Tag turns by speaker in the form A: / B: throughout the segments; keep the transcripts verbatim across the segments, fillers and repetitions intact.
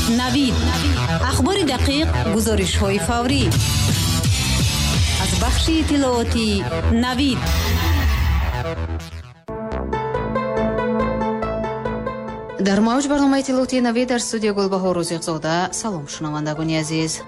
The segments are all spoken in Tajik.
A: Навид. Ахбори дақиқ, гузоришҳои фаврӣ. Аз бахши иттилоотии Навид.
B: Дар мавҷ барномаи иттилоотии Навид дар студия Гулбаҳор Рӯзиқзода. Салом, шунавандагони азиз.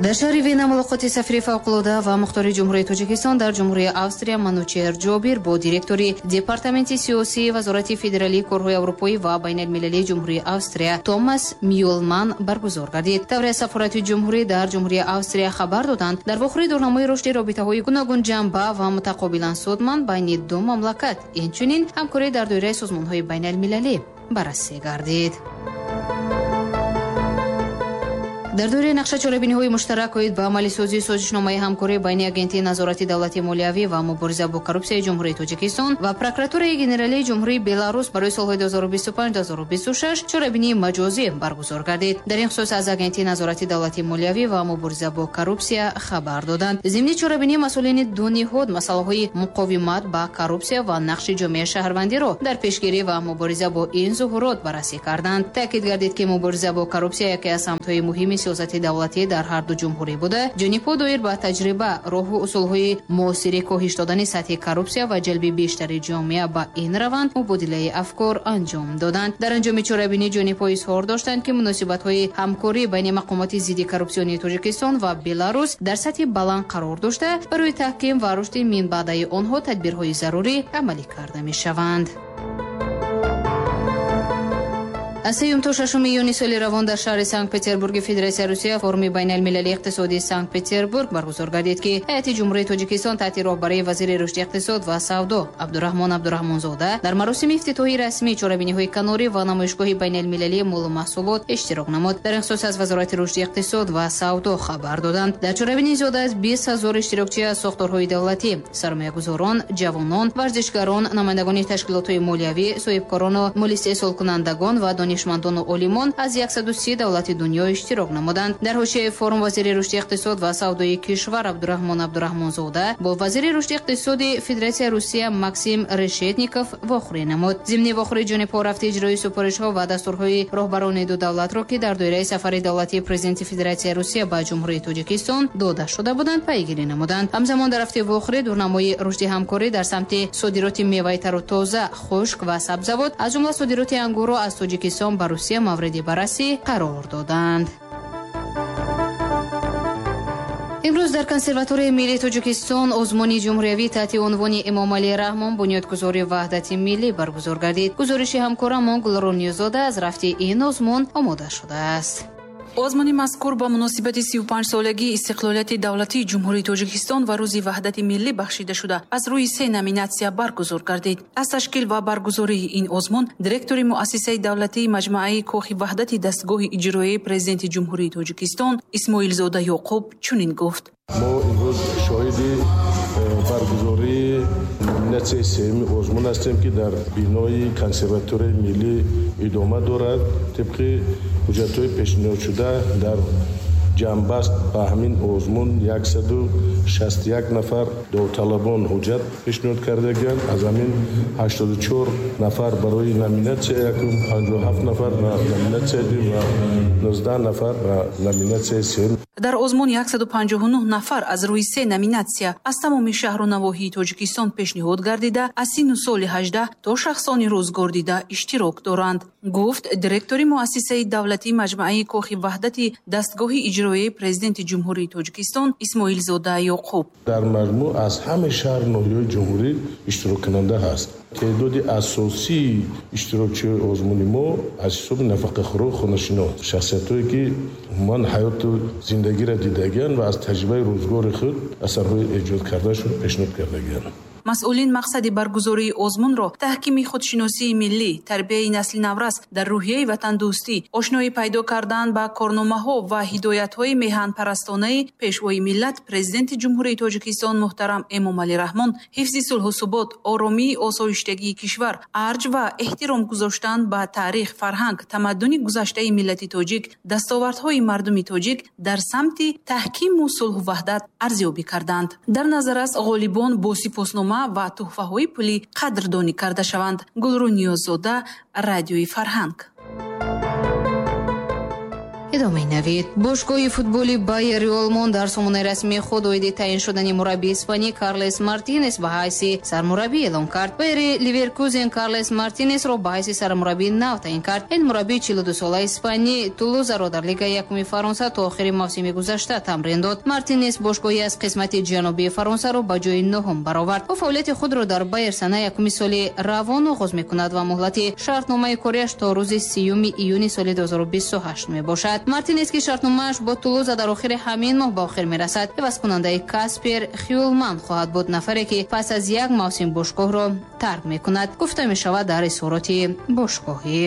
B: Дар шаҳри Вена мулоқоти сафири фавқулода ва мухтори Ҷумҳурии Тоҷикистон дар Ҷумҳурии Австрия Манучеҳр Ҷобир бо директори Департаменти сиёсии Вазорати федералии корҳои аврупоӣ ва байналмилалии Ҷумҳурии Австрия Томас Мюлман баргузор гардид. Тавре сафорати ҷумҳурӣ дар Ҷумҳурии Австрия хабар доданд, дар вохӯрии дурнамои рушди робитаҳои гуногунҷанба ва мутақобилан судманд байни ду мамлакат, инчунин ҳамкорӣ дар доираи созмонҳои байналмилалӣ баррасӣ гардид. Дар доираи нақша чорабиниҳои муштарак оид ба амалисозии созишномаи ҳамкорӣ байни Агентии назорати давлати молиявӣ ва мубориза бо коррупсияи Ҷумҳурии Тоҷикистон ва Прокуратураи генералии Ҷумҳурии Беларус барои солҳои ду ҳазору бисту панҷ - ду ҳазору бисту шаш чорабинии маҷозӣ баргузор гардид. Дар ин хусус аз Агентии назорати давлати молиявӣ ва мубориза бо коррупсия хабар доданд. Зимни чорабинӣ масъулини ду ниҳод масъалаҳои муқовимат ба коррупсия ва нақши ҷомеаи шаҳрвандиро дар пешгирӣ ва мубориза бо ин зуҳурот баррасӣ карданд. Таъкид гардид, ки мубориза бо коррупсия яке аз самтҳои муҳими сиёсати давлатӣ дар ҳар ду ҷумҳурӣ буда, ҷонибҳо доир ба таҷриба, роҳу усулҳои муосири коҳиш додани сатҳи коррупсия ва ҷалби бештари ҷомеа ба ин раванд мубодилаи афкор анҷом доданд. Дар анҷоми чорабинӣ ҷонибҳо изҳор доштанд, ки муносибатҳои ҳамкорӣ байни мақомоти зидди коррупсионии Тоҷикистон ва Беларус дар сатҳи баланд қарор дошта, барои таҳким ва рушди минбаъдаи онҳо тадбирҳои зарурӣ амалӣ карда мешаванд. Аз сеюм то шашуми июни соли равон дар шаҳри Санкт-Петербурги Федератсияи Русия форуми байналмилалии иқтисодии Санкт-Петербург баргузор гардид, ки ҳайати Ҷумҳурии Тоҷикистон таҳти роҳбарии вазири рушди иқтисод ва савдо Абдураҳмон Абдураҳмонзода дар маросими ифтитоҳии расмии чорабиниҳои канорӣ ва намоишгоҳи байналмилалии молу маҳсулот иштирок намуд. Дар ин хусус аз Вазорати рушди иқтисод ва савдо хабар доданд. Дар чорабинӣ зиёда аз бист ҳазор иштирокчӣ аз сохторҳои давлатӣ, сармоягузорон, ҷавонон, варзишгарон, намояндагони ташкилотҳои молиявӣ, соҳибкорону моли истеҳсолкунандагон ва донишмандону олимон аз яксаду си давлати дунё иштирок намуданд. Дар ҳошияи форум вазири рушди иқтисод ва савдои кишвар Абдураҳмон Абдураҳмонзода бо вазири рушди иқтисоди Федератсияи Русия Максим Решетников вохӯрӣ намуд. Зимни вохӯрӣ ҷонибҳо рафти иҷрои супоришҳо ва дастурҳои роҳбарони ду давлатро, ки дар доираи сафари давлатии президенти Федератсияи Русия ба Ҷумҳурии Тоҷикистон дода шуда буданд, пайгирӣ намуданд. Ҳамзамон дар рафти вохӯрӣ дурнамои рушди ҳамкорӣ дар самти содироти меваи тару тоза, хушк ва сабзавот, аз ҷумла содироти ангурро аз Тоҷикистон ба Русия мавриди баррасӣ қарор доданд. Имрӯз дар Консерваторияи миллии Тоҷикистон озмуни ҷумҳуриявӣ таҳти унвони Эмомалӣ Раҳмон бунёдгузори ваҳдати миллӣ баргузор гардид. Гузориши ҳамкорамон Гулрон Ниёзода аз рафти ин озмун омода шудааст.
C: Озмуни мазкур ба муносибати сию панҷсолагии истиқлолияти давлатии Ҷумҳурии Тоҷикистон ва рӯзи ваҳдати миллӣ бахшида шуда, аз рӯи се номинатсия баргузор гардид. Аз ташкил ва баргузории ин озмун директори муассисаи давлатии маҷмӯаи Кохи ваҳдати дастгоҳи иҷроияи президенти Ҷумҳурии Тоҷикистон Исмоилзода Ёқуб чунин гуфт:
D: мо имрӯз шоҳиди баргузории номинатсияи сеюми озмун ҳастем, ки дар бинои Консерваторияи миллӣ идома дорад. Тибқи ҳуҷҷатҳои пешниҳодшуда дар ҷамъбаст ба ҳамин озмун яксаду шасту як нафар довталабон ҳуҷҷат пешниҳод кардагианд. Аз ҳамин ҳаштоду чор нафар барои номинатсияи якум, панҷоҳу ҳафт нафар ба номинатсияи дуюм ва нуздаҳ нафар ба номинатсияи сеюм.
C: Дар озмун яксаду панҷоҳу нӯҳ нафар аз рӯи се номинатсия аз тамоми шаҳру навоҳии Тоҷикистон пешниҳод гардида, аз синну соли ҳаждаҳ то шахсони рӯзгор дида иштирок доранд, гуфт директори муассисаи давлатии маҷмӯаи Кохи ваҳдати дастгоҳи иҷроияи президенти Ҷумҳурии Тоҷикистон Исмоилзода Ёқуб.
D: Дар маҷмӯъ аз ҳамаи шаҳру ноҳияҳои ҷумҳурӣ иштироккунанда ҳаст. Теъдоди асосии иштирокчиҳои озмуни мо аз ҳисоби нафақахӯру хонашино, шахсиятҳое ки умуман ҳаёту зиндагиро дидагианд ва аз таҷрибаи рӯзгори худ асарҳои эҷод кардашон пешниҳод кардагианд.
C: Масъулин мақсади баргузории озмунро таҳкими худшиносии миллӣ, тарбияи насли наврас дар рӯҳияи ватандӯстӣ, ошноӣ пайдо кардан ба корномаҳо ва ҳидоятҳои меҳанпарастонаи пешвои миллат, президенти Ҷумҳурии Тоҷикистон муҳтарам Эмомалӣ Раҳмон, ҳифзи сулҳу субот, оромии осоиштагии кишвар, арҷ ва эҳтиром гузоштан ба таърих, фарҳанг, тамаддуни гузаштаи миллати тоҷик, дастовардҳои мардуми тоҷик дар самти таҳкиму сулҳу ваҳдат арзёбӣ карданд. Дар назар аст ғолибон бо сипосномаи Сипоснома ва туҳфаҳои пулӣ қадрдонӣ карда шаванд. Гулрӯ Ниёззода, Радиои Фарҳанг.
B: Идомаи навид. Бошгоҳи футболи Байери Олмон дар сомонаи расмии худ оиди таъин шудани мураббии испанӣ Карлес Мартинес ба ҳайси сармураббӣ эълон кард. Байери Ливеркузен Карлес Мартинесро ба ҳайси сармураббии нав таъин кард. Ин мураббии чилу дусолаи испанӣ Тулузаро дар Лигаи якуми Фаронса то охири мавсими гузашта тамрин дод. Мартинес бошгоҳи аз қисмати ҷанубии Фаронсаро ба ҷои нуҳум баровард. Ӯ фаъолияти худро дар Байер санаи якуми соли равон оғоз мекунад ва муҳлати шартномаи кориаш то рӯзи сиюми июни соли дуҳазору бисту ҳашт мебошад. Мартинес, ки шартномааш бо Тулуза дар охири ҳамин моҳ ба охир мерасад, ивазкунандаи Каспер Хюлман хоҳад буд, нафаре ки пас аз як мавсим бошгоҳро тарк мекунад, гуфта мешавад дар изҳороти бошгоҳӣ.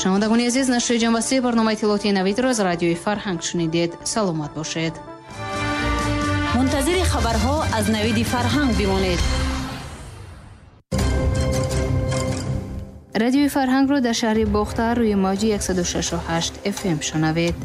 B: Шунавандагони азиз, нашри ҷамъбастии барномаи иттилоотии навидро аз Радиои Фарҳанг шунидед. Саломат бошед.
A: Мунтазири хабарҳо аз Навиди Фарҳанг бимонед.
B: Радиои Фарҳангро дар шаҳри Бохтар рӯи мавҷи яксаду шашу ҳашт эф эм шунавед.